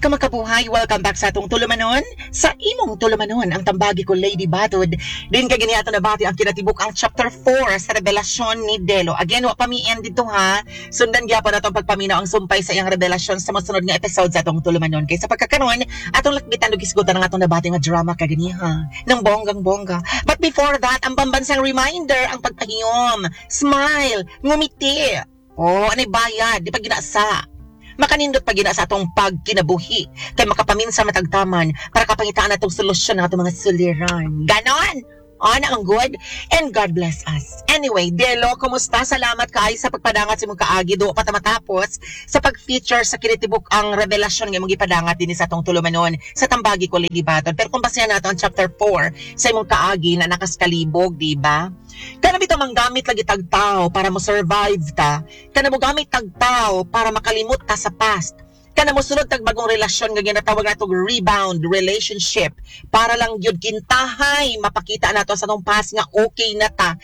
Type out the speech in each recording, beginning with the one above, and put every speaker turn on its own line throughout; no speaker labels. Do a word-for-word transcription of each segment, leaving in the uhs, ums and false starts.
Kamakabuhay, welcome back sa atong tulumanon. Sa imong tulumanon, ang Tambagi Ko, Lady Batod. Din kay gini ato nabati ang kinatibuk ang chapter four sa revelasyon ni Delo. Again, wa pa mi end dito ha. Sundan gyapon nato ang pagpaminaw ang sumpay sa iyang revelasyon sa mosunod nga episode sa atong tulumanon. Kay sa pagkakaron, atong lakbitan ug hisgutan ang atong nabati nga drama kaganiha ng bonggang bongga. But before that, ang pambansang reminder, ang pagpahiyom, smile, ngumiti. Oh, anay bayad, di pa ginasa. Makanindot pa gina sa atong pagkinabuhi kay makapaminsa matagtaman para kapangitaan natong solusyon ng atong mga suliran. Ganon! Ana ang good and God bless us. Anyway, Delo, kumusta? Salamat kay sa pagpadangat sa imong kaagi do pa ta matapos sa pag-feature sa kinitibuk ang revelasyon nga imong gipadangat dinhi sa atong tulumanon sa Tambagi Ko, Lady Batod. Pero kung basehan nato ang chapter four sa imong kaagi na nakaskalibog, di ba? Kana bitaw manggamit lagi tag tao para mo survive ta. Kana mo gamit tag tao para makalimot ta sa past. Kana mo sulod tag bagong relasyon nga ginatawag nato rebound relationship para lang gyud kintahay mapakita nato sa atong past nga okay na ta.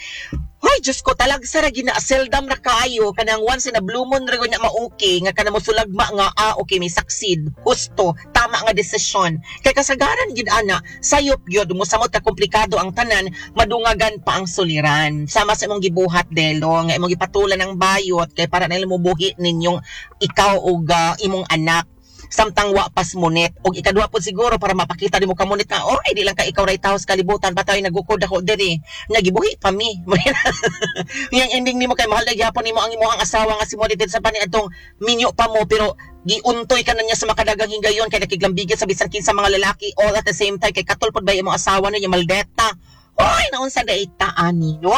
Hoy, Diyos ko, talagsa ra gina, seldom ra kaayo kanang once in a blue moon ra gyud na ma-okay nga kana mo sulagma nga ah okay, may succeed, husto, tama nga desisyon. Kay kasagaran gid ana, sayop gyud mo samot ka komplikado ang tanan, madungagan pa ang suliran. Sama sa imong gibuhat, Delo, nga imong gipatulan ng bayot kay para nila mo buhi ninyong ikaw ug ah, imong anak samtang wa pas munit. Og ikaduha pod siguro para mapakita nimo kamunit nga oh ay di lang ka ikaw ray tawo sa kalibutan, patay nagukod ako diri, nagibuhi pa mi. Yang ending nimo kay mahal na gyapon nimo ang imong asawa nga si Monit sa pani atong minyo pa mo, pero giuntoy ka na niya sa makadagang higayon kay nakiglambigit sa bisan kinsa mga lalaki all at the same time, kay katol pod ba imong asawa niya maldeta. Oy, naunsa day ta ani, no?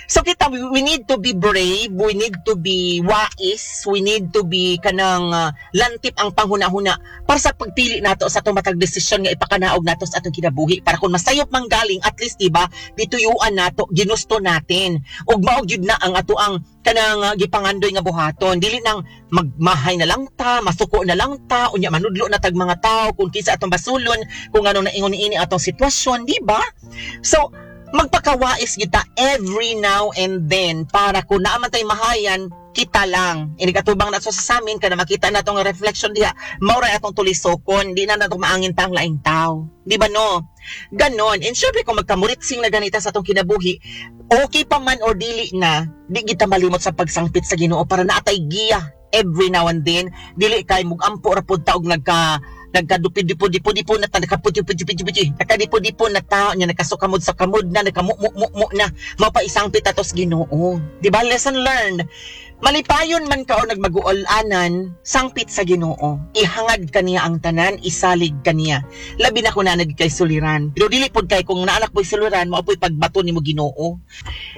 So kita, we, we need to be brave, we need to be wise, we need to be kanang uh, lantip ang panghuna-huna para sa pagpili nato sa atong matag desisyon nga ipakanaog nato sa atong kinabuhi para kung masayop man galing, at least, diba, dituyuan nato, ginusto natin. Ug mao gyud na ang ato ang kanang uh, gipangandoy nga buhaton. Dili nang magmahay na lang ta, masuko na lang ta, unya manudlo na tag mga tao kung kinsa atong basulon, kung ano na ingon niini atong sitwasyon, di ba? So, magpakawais kita every now and then para kung naa man tay mahayan, kita lang. Inikatubang na sa samin, kana makita na itong reflection diha, mao ra atong tulisokon, di na nato maangin pa ang laing tao. Di ba no? Ganon. And syempre, kung magkamuritsing na ganita sa atong kinabuhi, okay pa man or dili na, di kita malimot sa pagsangpit sa Ginoo para naatay giya every now and then. Dili kay mugampo ra pud ta og nagka nagkadupi-dipo-dipo-dipo na ta, nagkaputi-puti-puti-puti, nagkadipo-dipo na tao niya, nagkasukamod sa kamod na, nagkamu-mu-mu na, mapaisangpit atos Ginoo. Di ba? Lesson learned. Malipayon man ka o nagmaguol-anan, sangpit sa Ginoo. Ihangad kaniya ang tanan, isalig kaniya. Labi na kung nanag kay suliran. Pero dili pod kay kung naanak po'y suliran, mao po'y pagbato nimo Ginoo.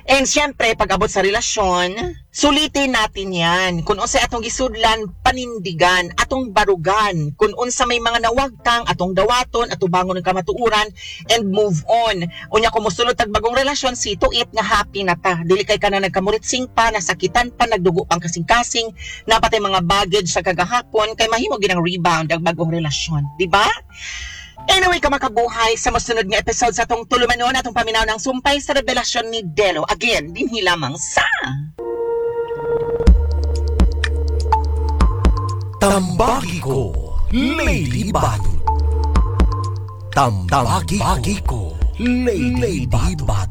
And syempre, pag abot sa relasyon, sulitin natin yan. Kung unsa atong gisudlan, panindigan, atong barugan. Kung unsa may mga nawagtang, atong dawaton, atubangon ng kamatuoran, and move on. Unya kung mosulod tag bagong relasyon, see to it nga happy na ta. Dili kay ka na nagkamuritsing pa, nasakitan pa, nagdugo pang kasing-kasing, napatay mga baggage sa kagahapon, kay mahimo ginang rebound ang bagong relasyon. Di ba? Anyway, kamakabuhay, sa masunod nga episode sa atong tulumanon, atong paminaw ng sumpay sa revelasyon ni Delo. Again, dinhi lamang sa
Tambagi Ko, Lady Batod. Tambagi Ko, Lady Batod.